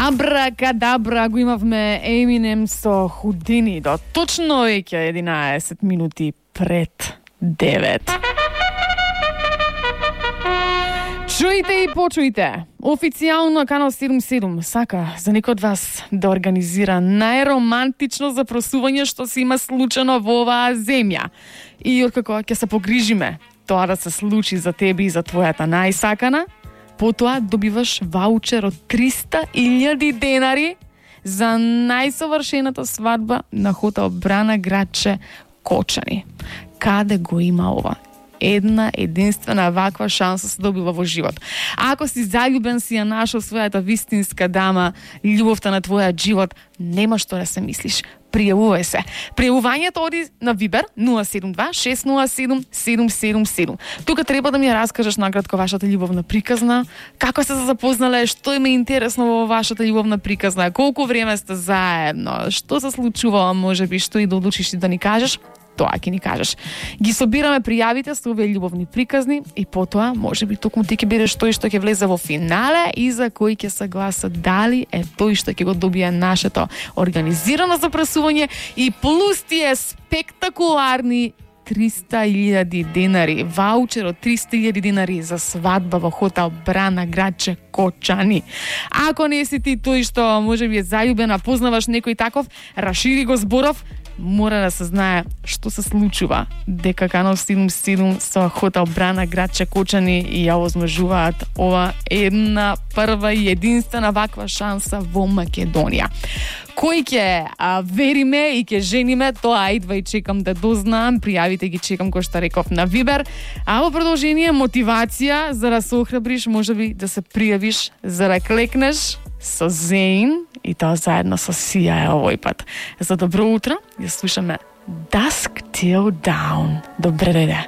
Абракадабра, го имавме Еминем со Худини до точно веќе 11 минути пред 9. Чујте и почујте. Официјално Канал 77 сака за некој од вас да организира најромантично запросување што се има случено во оваа земја. И откако ќе се погрижиме тоа да се случи за тебе и за твојата најсакана, потоа добиваш ваучер од 300.000 денари за најсовршената свадба на хотел Брана Градче Кочани. Каде го има ова? Една единствена ваква шанса се добива во живот. А ако си заљубен, си ја нашол својата вистинска дама, љубовта на твојот живот, нема што да се мислиш. Пријавувај се. Пријавувањето оди на Вибер 072-607-777. Тука треба да ми ја раскажеш накратко вашата љубовна приказна, како сте се запознале, што има интересно во вашата љубовна приказна, колку време сте заедно, што се случувало, можеби што и да одлучиш да ни кажеш. Тоа ќе ни кажеш. Ги собираме пријавите со овие љубовни приказни и потоа можеби токму ти ќе бидеш тој што ќе влезе во финале и за кој ќе се гласа дали е тој што ќе го добие нашето организирано запрашување и плюс тие спектакуларни 300.000 денари, ваучер од 300.000 денари за свадба во хотел Брана Градче Кочани. Ако не си ти тој што можеби е заљубена, познаваш некој таков, рашири го зборов, мора да се знае што се случува, дека Канал 77 со хотел Брана Градче Кочани и ја возможуваат ова една прва и единствена ваква шанса во Македонија. Кој ќе вериме и ќе жениме, тоа идва и чекам да дознаам. Пријавите ги чекам, кој што реков, на Вибер. А во продолжение мотивација за да се охрабриш, можеби да се пријавиш за да клекнеш со Зейн и тоа заедно со Сија овој пат. За добро утро, ја слушаме Dusk Till Dawn. Добре дојде.